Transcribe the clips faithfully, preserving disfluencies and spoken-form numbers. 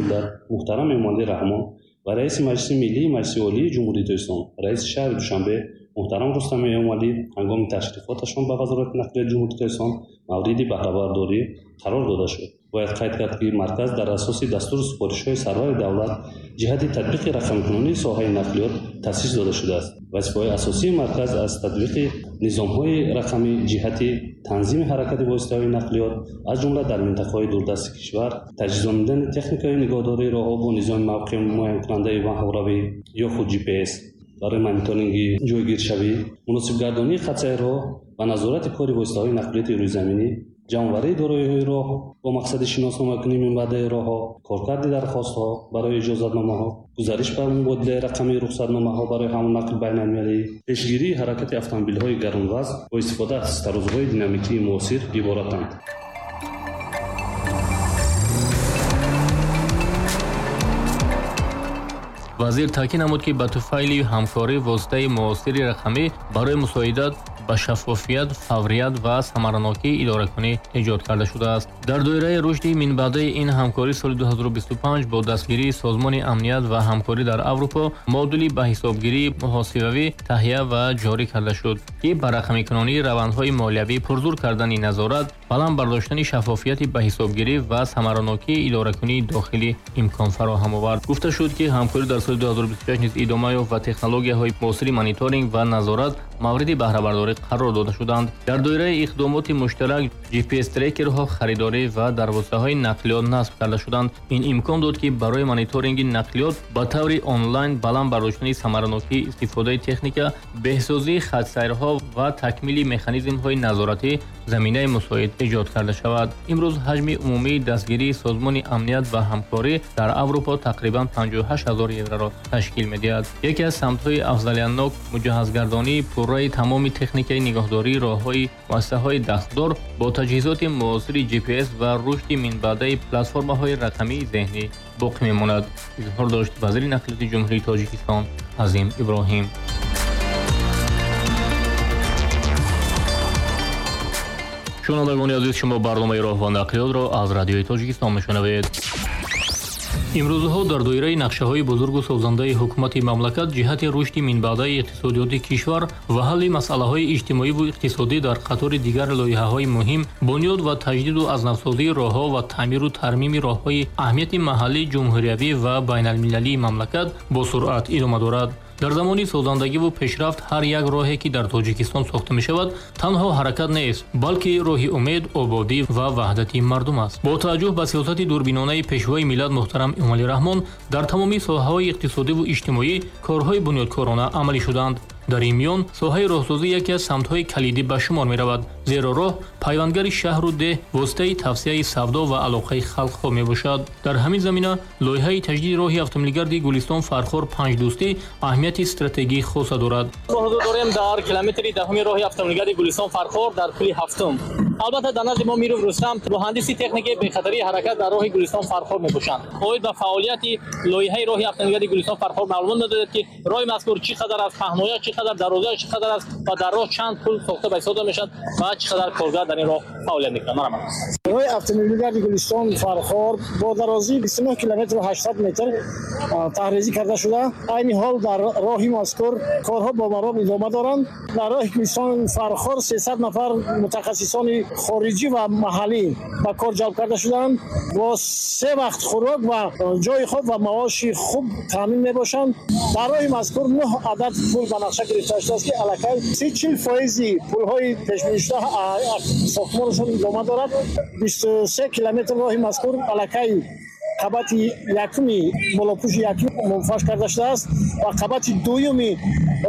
миллат муҳтарам Эмомалӣ Раҳмон ва раиси Маҷлиси Миллии Маҷлиси Олии Ҷумҳурии Тоҷикистон, раиси шаҳри Душанбе муҳтарам Рустам Эмомалӣ ҳангоми ташрифоташон ба Вазорати нақлиёти Ҷумҳурии Тоҷикистон мавриди баҳрабардорӣ қарор дода шуд. Бояд қайд кард, ки марказ дар асоси дастуру супоришҳои сарвари давлат ҷиҳати татбиқи рақамикунонии соҳаи нақлиёт таъсис дода шудааст. Вазифаҳои асосии марказ аз татбиқи низомҳои рақамӣ ҷиҳати танзими ҳаракати воситаҳои нақлиёт, аз ҷумла дар минтақаҳои дурдасти кишвар, таҷҳизонидани техникаи нигоҳдории роҳҳо бо низоми мавқеъ муайянкунандаи маҳоравӣ ё худ Джи Пи Эс барои мониторинги ҷойгиршавӣ, муносибгардонии хатсайрҳо ва назорати кори воситаҳои нақлиёти рӯйзаминӣ, ҷамъоварии дороиҳои роҳ бо мақсади шиносномакунии минбаъдаи роҳҳо, коркарди дархостҳо барои иҷозатномаҳо, гузариш ба мубодилаи рақамии рухсатномаҳо барои ҳамлу нақли байналмилалӣ, пешгирии ҳаракати автомобилҳои гаронвазн бо истифода аз тарозуҳои динамикии муосир иборатанд. Вазир таъкид намуд, ки ба туфайли ҳамкорӣ воситаи муосири рақамӣ барои мусоидат ба шаффофият, фаврият ва самаранокии идоракунӣ эҷод карда шудааст. Дар доираи рушди минбаъдаи ин ҳамкорӣ соли ду ҳазору бисту панҷ бо дастгирии Созмони амният ва ҳамкорӣ дар Аврупо модули ба ҳисобгирии муҳосибавӣ таҳия ва ҷорӣ карда шуд, ки ба рақамикунонии равандҳои молиявӣ, пурзур кардани назорат, баланд бардоштани шаффофияти ба ҳисобгирӣ ва самаранокии идоракунии дохилӣ имкон фароҳам овард. Гуфта шуд, ки ҳамкорӣ дар соли ду ҳазору бисту шаш низ идома ёфт ва технологияҳои муосири мониторинг ва назорат мавриди баҳрабардорӣ қарор дода шуданд. Дар доираи иқдомоти муштарак Джи Пи Эс трекерҳо харидорӣ ва дар воситаҳои нақлиёт насб карда шуданд. Ин имкон дод, ки барои мониторинги нақлиёт ба таври онлайн баланд бардоштани самаранокии истифодаи техника, беҳсозии хатсайрҳо ва такмили механизмҳои назоратӣ заминаи мусоид эҷод карда шавад. Имрӯз ҳаҷми умумии дастгирии Созмони амният ва ҳамкорӣ дар Аврупо тақрибан панҷоҳу ҳашт ҳазор евроро ташкил медиҳад. Яке аз самтҳои афзалиятнок муҷаҳҳазгардонии пурраи тамоми техникаи нигоҳдории роҳҳои муассисаҳои дахлдор бо таҷҳизоти муосири Джи Пи Эс ва рушди минбаъдаи платформаҳои рақамии зеҳнӣ боқӣ мемонад, изҳор дошт вазири нақлиёти Ҷумҳурии Тоҷикистон Азим Иброҳим. Шунавандагони азиз, шумо барномаи роҳ ва нақлиётро аз радиои Тоҷикистон мешунавед. Имрӯзҳо дар доираи нақшаҳои бузургу созандаи ҳукумати мамлакат ҷиҳати рушди минбаъдаи иқтисодиёти кишвар ва ҳалли масъалаҳои иҷтимоиву иқтисодӣ дар қатори дигар лоиҳаҳои муҳим, бунёд ва таҷдиду азнавсозии роҳҳо ва таъмиру тармими роҳҳои аҳамияти маҳаллӣ, ҷумҳуриявӣ ва байналмилалии мамлакат бо суръат идома дорад. Дар замони созандагиву пешрафт ҳар як роҳе, ки дар Тоҷикистон сохта мешавад, танҳо ҳаракат нест, балки роҳи умед, ободӣ ва ваҳдати мардум аст. Бо таваҷҷӯҳ ба сиёсати дурбинонаи пешвои миллат муҳтарам Эмомалӣ Раҳмон дар тамоми соҳаҳои иқтисодиву иҷтимоӣ корҳои бунёдкорона амалӣ шуданд. Дар ин миён соҳаи роҳсозӣ яке аз самтҳои калидӣ ба шумор меравад, зеро роҳ пайвандгари шаҳру деҳ, воситаи тавсияи савдо ва алоқаи халқҳо мебошад. Дар ҳамин замина лоиҳаи таҷдиди роҳи автомобилгарди Гулистон Фархор Панҷдӯстӣ аҳамияти стратегии хоса дорад. Мо ҳузур дорем дар километри даҳуми роҳи автомобилгарди Гулистон Фархор дар пули ҳафтум. Албатта дар назди мо Миров Рустам, муҳандиси техникаи бехатарии ҳаракат дар роҳи Гулистон Фархор мебошанд. Оид ба фаъолияти лоиҳаи роҳи автомобилгарди Гулистон Фархор маълумот медодед, ки роҳи мазкур чӣ қадар аз паҳнояш, чӣ қадар дарозияш, чӣ қадар аст ва дар роҳ чанд пул сохта ба ҳисоб мешавад ва чӣ қадар коргар дар ин роҳ фаъолият мекунанд. Марҳамат. Роҳи автомобилгарди Гулистон Фархор бо дарозии бисту нӯҳ километру ҳаштсад метр таҳризӣ карда шуда. Айни ҳол дар роҳи мазкур корҳо бо маром идома доранд. Дар роҳи Гулистон Фархор сесад нафар мутахассисони хориҷӣ ва маҳаллӣ ба кор ҷалб карда шуданд. Бо се вақт хӯрок ва ҷои хоб ва маоши хуб таъмин мебошанд. Дар роҳи мазкур нӯҳ адад пул ба нақша гирифта шудааст, ки аллакай си чил фоизи пулҳои пешбинишуда сохтмонашон идома дорад. бисту се километр роҳи мазкур аллакай қабати якуми болопӯши якум мунфаш карда шудааст ва қабати дуюми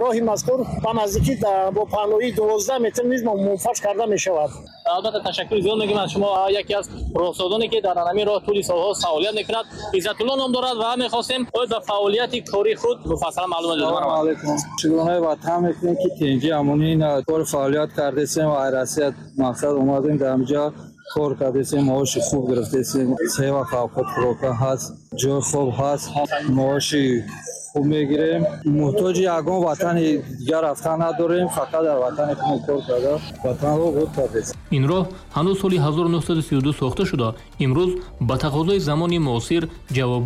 роҳи мазкур ба наздикӣ бо паҳноии дувоздаҳ метр низ мунфаш карда мешавад. Албатта ташаккури зиёд мегӯем аз шумо, яке аз роҳсозоне, ки дар ҳамин роҳ тӯли солҳо фаъолият мекунад, Иззатулло ном дорад ва мехостем оид ба фаъолияти кори худ муфассалан маълумот диҳед. Салому алайкум. Чигуна ватан мекунем, ки тинҷи амонӣ кор фаъолият кардесем ва Россия мақсад омадем дар инҷо кор кардесем, маоши хуб гирифтесем, се вақт авқот хӯрока ҳаст, ҷои хоб ҳаст, маоши хуб мегирем. Муҳтоҷи ягон ватани дигар рафтан надорем, фақат дар ватани худ кор карда ватанро обод кардесем. Ин роҳ ҳанӯз соли ҳазору нӯҳсаду сию ду сохта шуда, имрӯз ба тақозои замони муосир ҷавоб